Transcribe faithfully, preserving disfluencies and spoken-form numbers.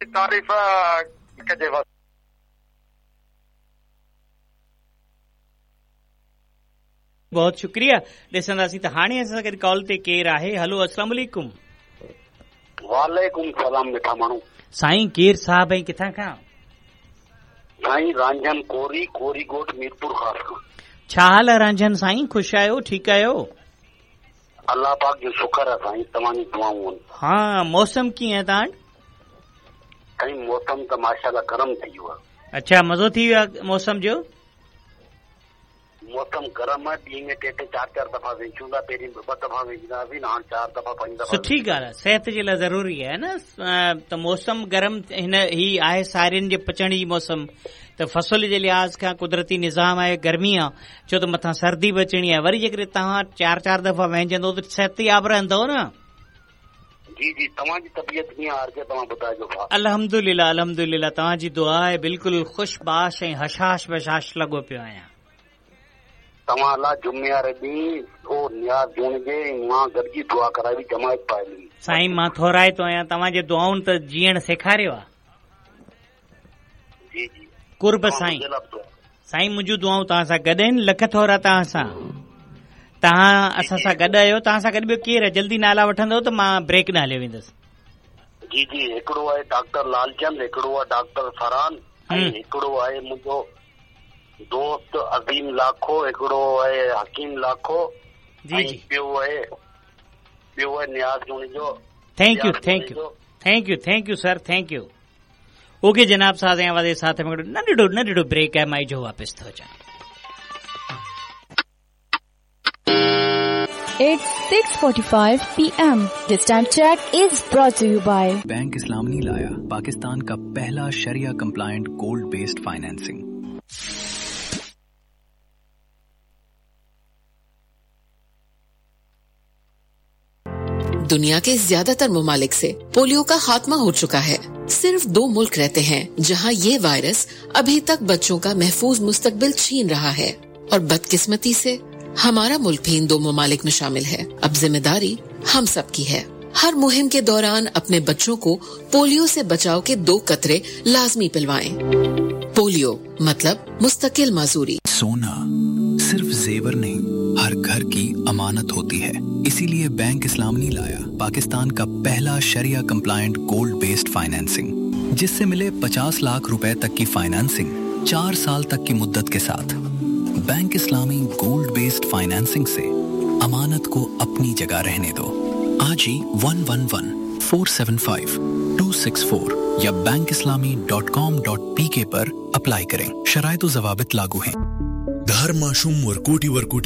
तारीफ़ कजे। बहुत शुक्रिया। ॾिसंदासीं त हाणे असां सां गॾु कॉल ते केरु आहे। हलो, अस्सलाम वालेकुम। वालेकुम सलाम। मिठा माण्हू साईं, केरु साहब ऐं किथां खां? साईं रांझन कोरी, कोरी ॻोठ, मीरपुर ख़ास खां। छा हाल आहे रांझन साईं? ख़ुशि आहियो? ठीकु आहियो? अलाह पाक जो शुक्र आहे साईं, तव्हांजी दुआऊं आहिनि। हा, मौसम कीअं आहे तव्हां वटि? साईं मौसम त माशाअल्लाह गरम थी वियो आहे। अच्छा, मज़ो थी वियो आहे मौसम जो? मौसम गरम आहे, ॾींहं में टे टे चारि चारि दफ़ा वेचूं था। पहिरीं ॿ दफ़ा वेचंदा हुआसीं, हाणे चारि दफ़ा पंज दफ़ा। सुठी ॻाल्हि आहे, सिहत जे लाइ ज़रूरी आहे न त मौसम गरम। हिन ही आहे सारियुनि जे पचण जी मौसम, त फसल जे लिहाज़ खां कुदरती निज़ाम आहे, गर्मी आहे, छो त मथां सर्दी बि अचणी आहे। वरी जेकॾहिं तव्हां चारि चारि दफ़ा वहिंजंदो त सिहतयाब रहंदव न। जी जी, तव्हांजी तबीयत कीअं आहे? तव्हां ॿुधाइजो। अल्हम्दुलिल्लाह, अल्हम्दुलिल्लाह, तव्हांजी दुआ आहे, बिल्कुलु ख़ुशबाश ऐं हशाश बशाश लॻो पियो आहियां। तव्हां लाइ जुमे वारे ॾींहुं ओ नियाज़ जुणजे मां गॾिजी दुआ कराई जमायत पाए। साईं मां थोराइतो आहियां, तव्हांजे दुआउनि त जीअण सेखारियो आहे। जी जी, कुर्ब साईं। साईं मुंहिंजूं दुआऊं तव्हां सां गॾु आहिनि। लख थोरा तव्हां सां, तव्हां असां सां गॾु आहियो। तव्हां सां गॾु ॿियो केरु आहे? जल्दी नाला वठंदव त मां ब्रेक न हलियो वेंदुसि। जी जी, हिकिड़ो आहे डॉक्टर लालचंद, हिकिड़ो आहे डॉक्टर फरहान, ऐं हिकिड़ो आहे मुंहिंजो दोस्त अज़ीम लाखो, हिकिड़ो आहे हकीम लाखो, जी जी, ॿियो आहे ॿियो आहे नियाज़ जुणेजो। Thank you, thank you, thank you, thank you sir, thank you. Okay जनाब, साज़ ऐं आवाज़ साथ में नंढड़ो नंढड़ो ब्रेक आहे, मां जो वापसि थो अचां। It's six forty-five P M. This time check is brought to you by bank Islami लाया पाकिस्तान का पहला शरिया कंप्लायंट गोल्ड बेस्ड फाइनेंसिंग। दुनिया के ज्यादातर ममालिक से पोलियो का खात्मा हो चुका है। सिर्फ दो मुल्क रहते हैं जहां ये वायरस अभी तक बच्चों का महफूज मुस्तकबिल छीन रहा है, और बदकिस्मती से हमारा मुल्क भी इन दो ममालिक में शामिल है। अब जिम्मेदारी हम सब की है। हर मुहिम के दौरान अपने बच्चों को पोलियो से बचाव के दो कतरे लाजमी पिलवाएं। पोलियो मतलब मुस्तकिल माजूरी। सोना सिर्फ जेवर नहीं, हर घर की अमानत होती है। इसीलिए बैंक इस्लामी लाया पाकिस्तान का पहला शरिया कंप्लायंट गोल्ड बेस्ड फाइनेंसिंग, जिससे मिले पचास लाख रुपए तक की फाइनेंसिंग चार साल तक की मुद्दत के साथ। बैंक इस्लामी गोल्ड बेस्ड फाइनेंसिंग से अमानत को अपनी जगह रहने दो। आज ही one one one four seven five two six four या bank Islami dot com dot P K पर अप्लाई करें। शराइत व ज़वाबित लागू हैं। हर माशूम वरकूटी वरकूटी